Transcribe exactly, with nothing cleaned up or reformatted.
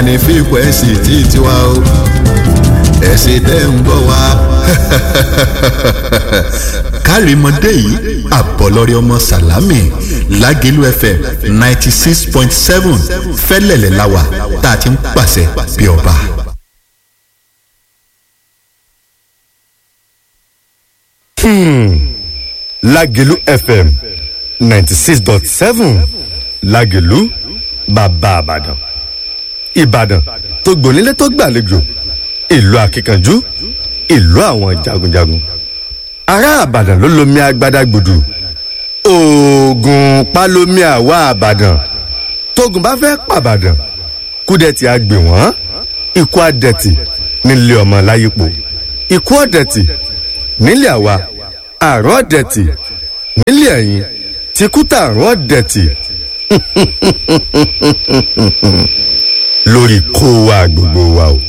Ní fíkwẹ́sì tí tiwa o, ẹ̀sìn tẹ́ ń gbọ́ wa. Kárìmọ́dé yìí, àbọ̀lọ́rẹ́ ọmọ Sàlámì, Lágẹ̀lú F M ninety six point seven, fẹ́lẹ̀lẹ̀ la wà tá a ti ń pàṣẹ bí ọba. Lágẹ̀lú F M ninety six dot seven, Lágẹ̀lú bàbá Àbàdàn, Ìbàdàn tó gbònílé tó gbàlejò, ìlú akíkanjú, ìlú àwọn jagunjagun. Ará Àbàdàn ló lomi agbada gbòdù, oògùn palomi. Àwa Àbàdàn, tógun bá fẹ́ pàbàdàn, kúdẹ̀tì àgbè wọ́n, ikú àdẹ̀tì nílé ọmọ láyípo, ikú ọ̀dẹ̀tì nílé àwa, àrùn ọ̀dẹ̀tì nílé ẹ̀yìn, tìkútà àrùn ọ̀dẹ̀tì lórí kó wa gbogbo wa o.